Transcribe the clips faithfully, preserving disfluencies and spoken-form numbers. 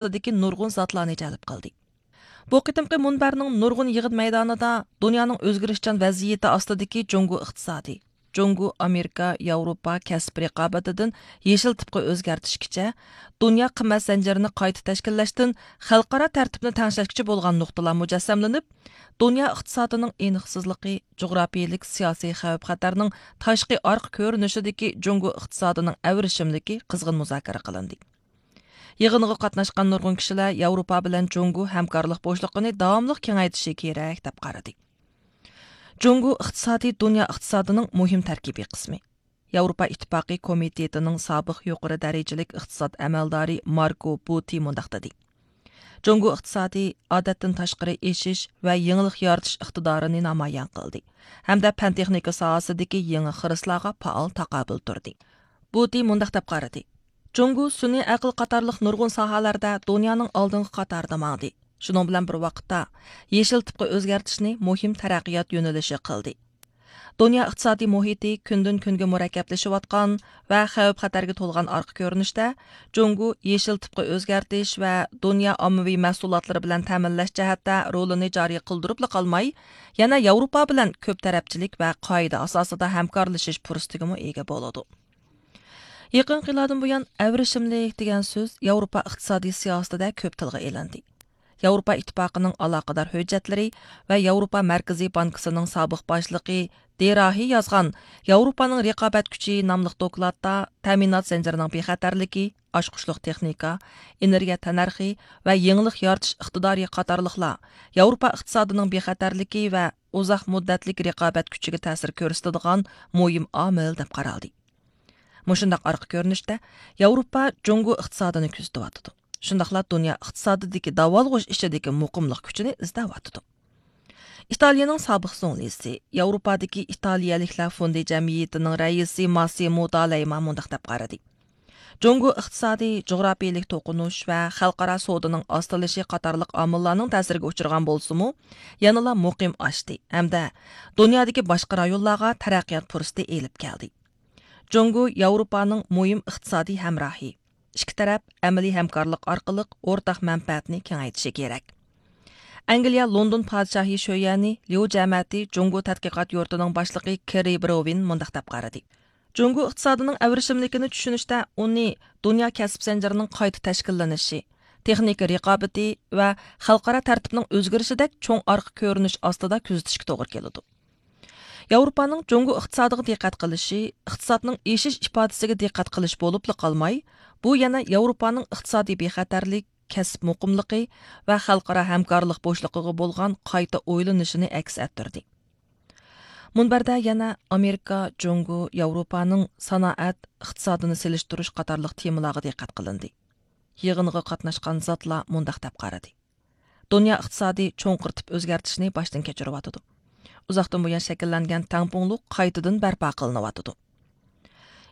ئاستىدىكى نۇرغۇن زاتلارنى جەلپ قىلدى. بۇ قېتىمقى مۇنبەرنىڭ نۇرغۇن يىغىن مەيدانىدا دۇنيانىڭ ئۆزگىرىشچان ۋەزىيىتى ئاستىدىكى جۇڭگو ئىقتىسادى، جۇڭگو، ئامېرىكا، ياۋروپا كەسىپ رىقابىتىدىن يېشىل تىپقا ئۆزگەرتىشكىچە، دۇنيا قىممەت زەنجىرىنى قايتا تەشكىللەشتىن خەلقئارا تەرتىپنى تەڭشەشكىچە بولغان نۇقتىلار مۇجەسسەملىنىپ، دۇنيا ئىقتىسادىنىڭ ئېنىقسىزلىقى، جۇغراپىيىلىك سىياسىي خەۋپ-خەتەرنىڭ تاشقى ئارقا كۆرۈنۈشىدىكى جۇڭگو ئىقتىسادىنىڭ ئەۋرىشىملىكى قىزغىن مۇزاكىرە قىلىندى. يىغىنغا قاتناشقان نۇرغۇن كىشىلەر ياۋروپا بىلەن جۇڭگو ھەمكارلىق بوشلۇقىنى داۋاملىق كېڭەيتىشى كېرەك، دەپ قارىدى. جۇڭگو ئىقتىسادى دۇنيا ئىقتىسادىنىڭ مۇھىم تەركىبىي قىسمى. ياۋروپا ئىتتىپاقى كومىتېتىنىڭ سابىق يۇقىرى دەرىجىلىك ئىقتىساد ئەمەلدارى ماركو بۇتى مۇنداق دېدى: جۇڭگو ئىقتىسادى ئادەتتىن تاشقىرى ئېشىش ۋە يېڭىلىق يارىتىش ئىقتىدارىنى نامايان قىلدى ھەمدە پەن تېخنىكا ساھەسىدىكى يېڭى خىرىسلارغا پائال تاقابىل تۇردى. بۇتى مۇنداق دەپ قارىدى: جۇڭگو سۈنئىي ئەقىل قاتارلىق نۇرغۇن ساھەلەردە دۇنيانىڭ ئالدىنقى قاتارىدا ماڭدى. شۇنىڭ بىلەن بىر ۋاقىتتا، يېشىل تىپقا ئۆزگەرتىشنى مۇھىم تەرەققىيات يۆنىلىشى قىلدى. دۇنيا ئىقتىسادىي مۇھىتى كۈندىن كۈنگە مۇرەككەپلىشىۋاتقان ۋە خەۋپ-خەتەرگە تولغان ئارقا كۆرۈنۈشتە، جۇڭگو يېشىل تىپقا ئۆزگەرتىش ۋە دۇنيا ئاممىۋى مەھسۇلاتلىرى بىلەن تەمىنلەش جەھەتتە رولىنى جارى قىلدۇرۇپلا قالماي، يەنە ياۋروپا بىلەن كۆپ تەرەپچىلىك ۋە قائىدە ئاساسىدا ھەمكارلىشىش پۇرسىتىگىمۇ ئىگە بولىدۇ. يېقىنقى يىللاردىن بۇيان، ئەۋرىشىملىك دېگەن سۆز ياۋروپا ئىقتىسادىي سىياسىتىدە كۆپ تىلغا ئېلىندى. ياۋروپا ئىتتىپاقىنىڭ ئالاقىدار ھۆججەتلىرى ۋە ياۋروپا مەركىزىي بانكىسىنىڭ سابىق باشلىقى دېراھى يازغان ياۋروپانىڭ رىقابەت كۈچى ناملىق دوكلاتتا تەمىنات زەنجىرىنىڭ بىخەتەرلىكى، ئاچقۇچلۇق تېخنىكا، ئېنېرگىيە تەننەرخى ۋە يېڭىلىق يارىتىش ئىقتىدارى قاتارلىقلار ياۋروپا ئىقتىسادىنىڭ بىخەتەرلىكى ۋە ئۇزاق مۇددەتلىك رىقابەت كۈچىگە تەسىر كۆرسىتىدىغان مۇھىم ئامىل دەپ قارالدى. مۇشۇنداق ئارقا كۆرۈنۈشتە ياۋروپا جۇڭگو ئىقتىسادىنى كۆزىتىۋاتىدۇ. شۇنداقلا دۇنيا ئىقتىسادىدىكى داۋالغۇش ئىچىدىكى مۇقىملىق كۈچىنى ئىزدەۋاتىدۇ. ئىتالىيىنىڭ سابىق زۇڭلىسى، ياۋروپادىكى ئىتالىيەلىكلەر فوندى جەمئىيىتىنىڭ رەئىسى ماسسىمو دالەيما مۇنداق دەپ قارىدى: جۇڭگو ئىقتىسادى جۇغراپىيىلىك توقۇنۇش ۋە خەلقئارا سودىنىڭ ئاستىلىشى قاتارلىق ئامىللارنىڭ تەسىرىگە ئۇچرىغان بولسىمۇ، يەنىلا مۇقىم ئاشتى ھەمدە دۇنيادىكى باشقا رايونلارغا تەرەققىيات پۇرسىتى ئېلىپ كەلدى. جۇڭگو ياۋروپانىڭ مۇھىم ئىقتىسادىي ھەمراھى. ئىككى تەرەپ ئەمەلىي ھەمكارلىق ئارقىلىق ئورتاق مەنپەئەتنى كېڭەيتىشى كېرەك. ئەنگلىيە لوندون پادىشاھى شۆيەنى ليۇ جەمەتى جۇڭگو تەتقىقات يۇرتىنىڭ باشلىقى كېررى بروۋىن مۇنداق دەپ قارىدى: جۇڭگو ئىقتىسادىنىڭ ئەۋرىشىملىكىنى چۈشىنىشتە ئۇنى دۇنيا كەسىپ زەنجىرىنىڭ قايتا تەشكىللىنىشى، تېخنىكا رىقابىتى ۋە خەلقئارا تەرتىپنىڭ ئۆزگىرىشىدەك چوڭ ئارقا كۆرۈنۈش ئاستىدا كۆزىتىشكە توغرا كېلىدۇ. ياۋروپانىڭ جۇڭگو ئىقتىسادىغا دىققەت قىلىشى، ئىقتىسادنىڭ ئېشىش ئىپادىسىگە دىققەت قىلىش بولۇپلا قالماي، بۇ يەنە ياۋروپانىڭ ئىقتىسادىي بىخەتەرلىك، كەسىپ مۇقىملىقى ۋە خەلقئارا ھەمكارلىق بوشلۇقىغا بولغان قايتا ئويلىنىشىنى ئەكس ئەتتۈردى. مۇنبەردە يەنە ئامېرىكا، جۇڭگو، ياۋروپانىڭ سانائەت ئىقتىسادىنى سېلىشتۇرۇش قاتارلىق تېمىلارغا دىققەت قىلىندى. يىغىنغا قاتناشقان زاتلار مۇنداق دەپ قارىدى: دۇنيا ئىقتىسادى چوڭقۇر تىپ ئۆزگەرتىشنى باشتىن كەچۈرۈۋاتىدۇ. ئۇزاقتىن بۇيان شەكىللەنگەن تەڭپۇڭلۇق قايتىدىن بەرپا قىلىنىۋاتىدۇ.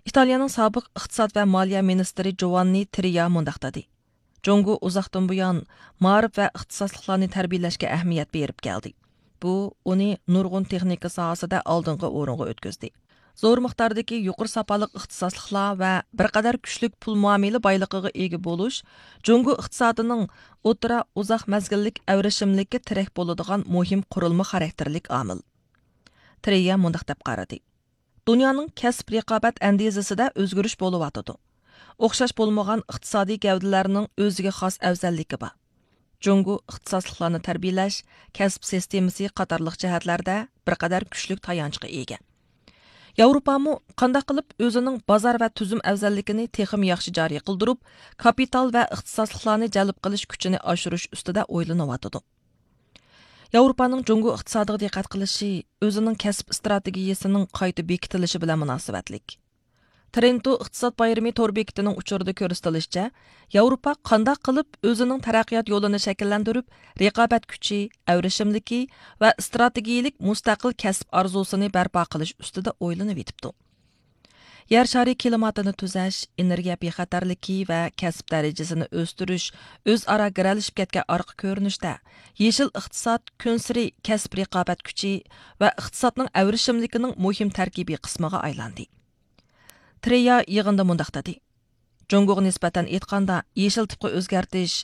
ئىتالىيەنىڭ سابىق ئىقتىساد ۋە مالىيە مىنىستىرى جوۋاننى ترىيا مۇنداق دېدى: جۇڭگو ئۇزاقتىن بۇيان مائارىپ ۋە ئىختىساسلىقلارنى تەربىيىلەشكە ئەھمىيەت بېرىپ كەلدى. بۇ ئۇنى نۇرغۇن تېخنىكا ساھەسىدە ئالدىنقى ئورۇنغا ئۆتكۈزدى. زور مىقداردىكى يۇقىرى ساپالىق ئىختىساسلىقلار ۋە بىر قەدەر كۈچلۈك پۇل مۇئامىلە بايلىقىغا ئىگە بولۇش جۇڭگو ئىقتىسادىنىڭ ئوتتۇرا، ئۇزاق مەزگىللىك ئەۋرىشىملىككە تىرەك بولىدىغان مۇھىم قۇرۇلما خاراكتېرلىك ئامىل. ترېييە مۇنداق دەپ قارىدى: دۇنيانىڭ كەسىپ رىقابەت ئەندىزىسىدە ئۆزگىرىش بولۇۋاتىدۇ. ئوخشاش بولمىغان ئىقتىسادىي گەۋدىلەرنىڭ ئۆزىگە خاس ئەۋزەللىكى بار. جۇڭگو ئىختىساسلىقلارنى تەربىيىلەش، كەسىپ سىستېمىسى قاتارلىق جەھەتلەردە بىر قەدەر كۈچلۈك تايانچقا ئىگە. ياۋروپامۇ قانداق قىلىپ ئۆزىنىڭ بازار ۋە تۈزۈم ئەۋزەللىكىنى تېخىمۇ ياخشى جارى قىلدۇرۇپ، كاپىتال ۋە ئىختىساسلىقلارنى جەلپ قىلىش كۈچىنى ئاشۇرۇش ئۈستىدە ئويلىنىۋاتىدۇ. ياۋروپانىڭ جۇڭگو ئىقتىسادىغا دىققەت قىلىشى ئۆزىنىڭ كەسىپ ئىستراتېگىيىسىنىڭ قايتا بېكىتىلىشى بىلەن مۇناسىۋەتلىك. ترېنتو ئىقتىساد بايرىمى تور بېكىتىنىڭ ئۇچۇرىدا كۆرسىتىلىشىچە، ياۋروپا قانداق قىلىپ ئۆزىنىڭ تەرەققىيات يولىنى شەكىللەندۈرۈپ، رىقابەت كۈچى، ئەۋرىشىملىكى ۋە ئىستراتېگىيىلىك مۇستەقىل كەسىپ ئارزۇسىنى بەرپا قىلىش ئۈستىدە ئويلىنىۋېتىپتۇ. يەر شارى كىلىماتىنى تۈزەش، ئېنېرگىيە بىخەتەرلىكى ۋە كەسىپ دەرىجىسىنى ئۆستۈرۈش ئۆزئارا گىرەلىشىپ كەتكەن ئارقا كۆرۈنۈشتە، يېشىل ئىقتىساد كۈنسېرى كەسىپ رىقابەت كۈچى ۋە ئىقتىسادنىڭ ئەۋرىشىملىكىنىڭ مۇھىم تەركىبىي قىسمىغا ئايلاندى. ترېيا يىغىندا مۇنداق دېدى: جۇڭگوغا نىسبەتەن ئېيتقاندا، يېشىل تىپقا ئۆزگەرتىش